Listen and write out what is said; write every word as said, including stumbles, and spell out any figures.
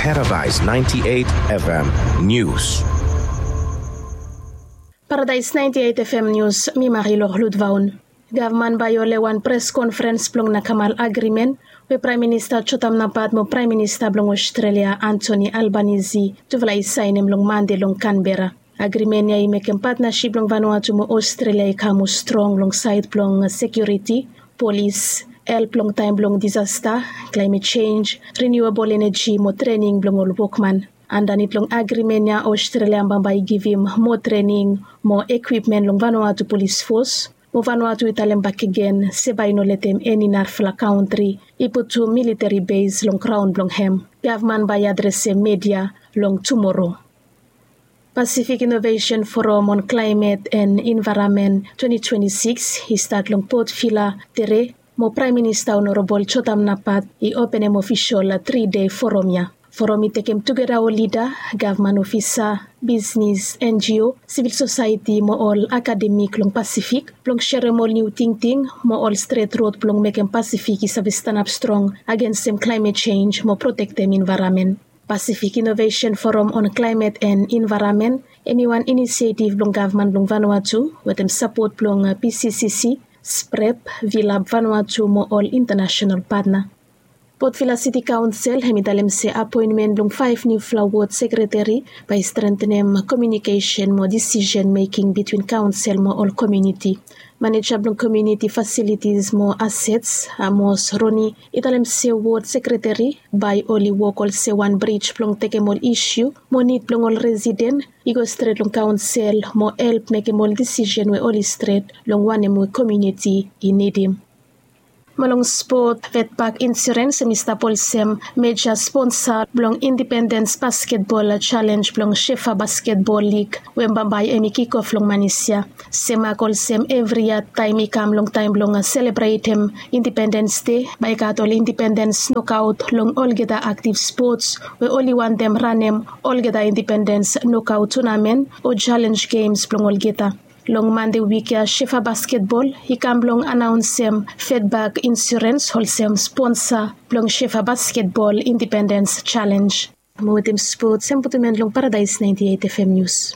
Paradise ninety-eight F M News. Paradise ninety-eight F M News, mi Marilor Ludvaun. Gavman bai ole wan pres konferens blong nakamal agrimen we Praem Minista Jotam Napat mo Praem Minista blong Australia Anthony Albanese tufala i saenem long Mande long Canberra. Agrimen ya i mekem patnasip blong Vanuatu mo Australia i kam mo strong long saed blong sekiuriti, polis, help long taem blong disasta, klaemet jenj, riniuabol eneji mo trening blong ol wokman. Andanit long agrimen ya Australia bambae i givim moa trening mo ekwipmen long Vanuatu polis fos. Mo Vanuatu i talem bakegen se bae i no letem eni narafala kantri i putum militeri bes long graon blong hem. Gavman bae i adresem media long tumoro. Pacific Innovation Forum on Climate and Environment twenty twenty-six i stat long Port Vila tere, mo Praem Minista Honorabol Jotam Napat i openem ofisol tri dei forum ya. Forum i tekem tugeta ol lida, gavman ofisa, bisnis, N G O, sivil sosaeti mo ol akademik long Pasifik blong serem ol niu tingting mo ol stret rod blong mekem Pasifik i save stanap strong agensem klaemet jenj mo protektem envaeramen. Pacific Innovation Forum on Climate and Environment hem i wan inisietiv blong gavman blong Vanuatu wetem sapot blong P C C C, SPREP, Vilab Vanuatu mo ol intanasenal patna. Port Vila Siti Kaonsel hem i talem se apoenmen blong faef niufala wod sekreteri bae i strentenem komiunikesen mo disisen meking bitwin kaonsel mo ol komiuniti. Maneja blong komiuniti fasilitis mo asets, Amos Roni, i talem se wod sekreteri bae oli wok olsem wan brij blong tekem ol isiu mo nid blong ol residen i go stret long kaonsel mo help mekem ol disisen we oli stret long wanem we komiuniti i nidim. Mo long spot, Vetpak Insurens hem i stap olsem meja sponsa blong Indipendens Basketbol Jalenj blong Shefa Basketbol Lig we bambae hem i kikof long Manis ya. Semak olsem evri yia taem i kam long taem blong selebretem Indipendens Dei bae i gat ol indipendens nokaot long olgeta aktiv spots we oli wantem ranem olgeta indipendens nokaot tunamen o jalenj gems blong olgeta. Long Mande wik ya Shefa Basketbol i kam blong anaonsem Vetpak Insurens olsem sponsa blong Shefa Basketbol Indipendens Jalenj. Mo wetem spots hem putum en long Paradise ninety-eight F M News.